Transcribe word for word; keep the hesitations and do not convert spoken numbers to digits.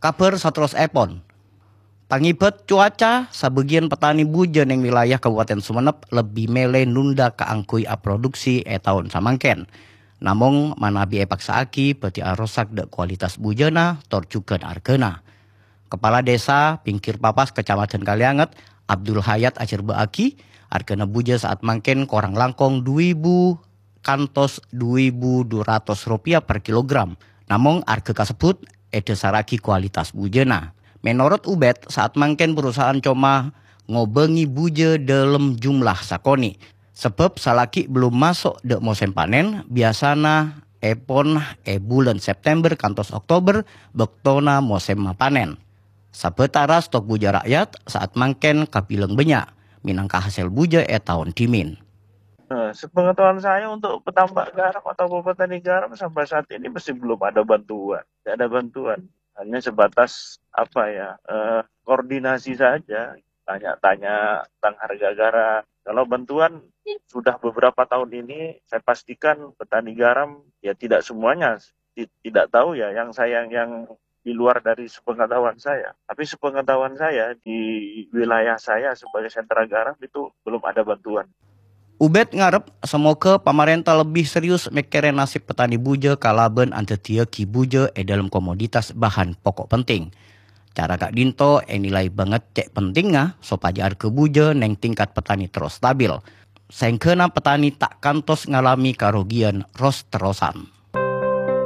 Kabhâr saterrossèpon. Pangèbât cuaca, sabâgiyân petani bujâ neng wilayah Kabupaten Sumenep lebbi mèlè nunda kaangghuy aproduksi è taon samangkèn. Namong, manabi èpaksa'aghi, bhâdhi arosak dâ' kualitas bujâna, tor jhughân arghâna. Kepala Desa Pinggir Papas, Kecamatan Kalianget, Abdul Hayat ajhârbâ'âghi, arghâna bujâ saat mangkèn korang langkong du èbu kantos du èbu du ratos ropèya per kilogram. Namong, arghâ kasebbhut èdhâsarraghi kualitas bujâna. Mènorot Ubed, saat mangkèn perusahaan coma ngobângè bujâ dâlem jumlah sakonè'. Sabâb salaghi bellum maso' dâ' mosèm panèn, biyasana èpon è bulân September kantos Oktober, bâktona mosèm mapanèn. Sabâtara stok bujâ ra'yat saat mangkèn kabilang bânnya', mènangka hasèl bujâ è taon dhimèn. Nah, sepengetahuan saya untuk petambak garam atau petani garam sampai saat ini masih belum ada bantuan. Tidak ada bantuan. Hanya sebatas apa ya, eh, koordinasi saja. Tanya-tanya tentang harga garam. Kalau bantuan sudah beberapa tahun ini, saya pastikan petani garam ya tidak semuanya ti- tidak tahu ya yang saya yang di luar dari sepengetahuan saya. Tapi sepengetahuan saya di wilayah saya sebagai sentra garam itu belum ada bantuan. Ubed ngarep, samoghâ pamarènta lebbi serius mèkkèrè nasib petani bujâ kalabân andhâddhiyâghi bujâ è dâlem komoditas bahan pokok penting. Cara ka'dinto ènilai bângèt cè' pentingnga sopajâ arghâ bujâ neng tingkat petani terros stabil, saèngghâna petani ta' kantos ngalamè karogiyân ros-terrosan.